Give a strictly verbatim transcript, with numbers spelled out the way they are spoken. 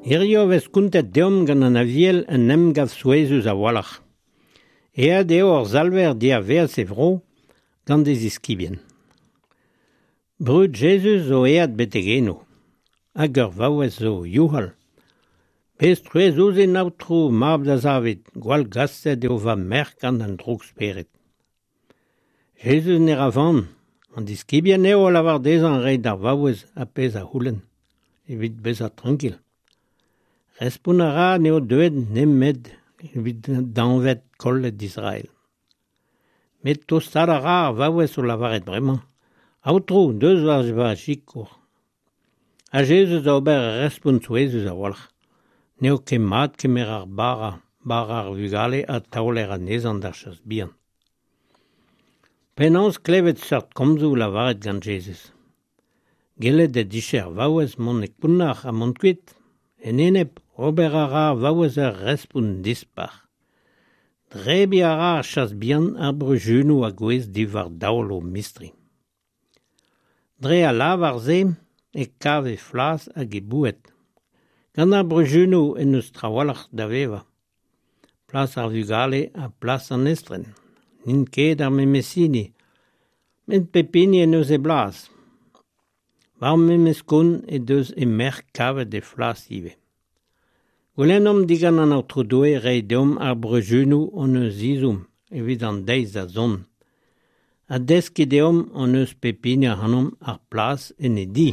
Hirio vez kontet deomp gant an Aviel un emgav souezhus a-walc'h. Aet eo hor Salver diavaez e vro gant e ziskibien. Brud Jezuz zo aet betek eno, hag ur vaouez zo youc'hal. Bez truez ouzhin Aotrou, mab da Zavid, gwall gaset eo va merc'h gant an droug-spered. Jezuz ne ra van, an diskibien eo a lavar dezhañ reiñ d'ar vaouez ar pezh a c'houlenn, evit bezañ trankil. Respont a ra n'eo deuet nemet evit dañved kollet Israel. Met tostaat a ra ar vaouez o lavaret bremañ. Aotrou, deus war va sikour. Ha Jezuz da ober ur respont souezhus a-walc'h. N'eo ket mat kemer ar bara, bara ar vugale ha taoler anezhañ d'ar chas bihan. Penaos klevet seurt komzoù lavaret gant Jezuz. Gellet he dije ar vaouez mont e kounnar ha mont kuit. En enep, ober a ra ar vaouez ur respont dispar. Drebiñ a ra ar chas bihan ar bruzunoù a gouezh diwar daol o mistri. Dre al lavar-se e kav he flas hag he boued. Gant ar bruzunoù en deus trawalc'h da vevañ. Plas ar vugale ha plas an estren. N'int ket ar memes hini, met pep hini en deus e blas. War memes kont he deus he merc'h kavet he flas ivez. Goulennomp digant an Aotrou Doue reiñ deomp ar bruzunoù hon eus ezhomm evit an deiz da zont. Ha deskiñ deomp hon eus pep hini ac'hanomp ar plas en e di.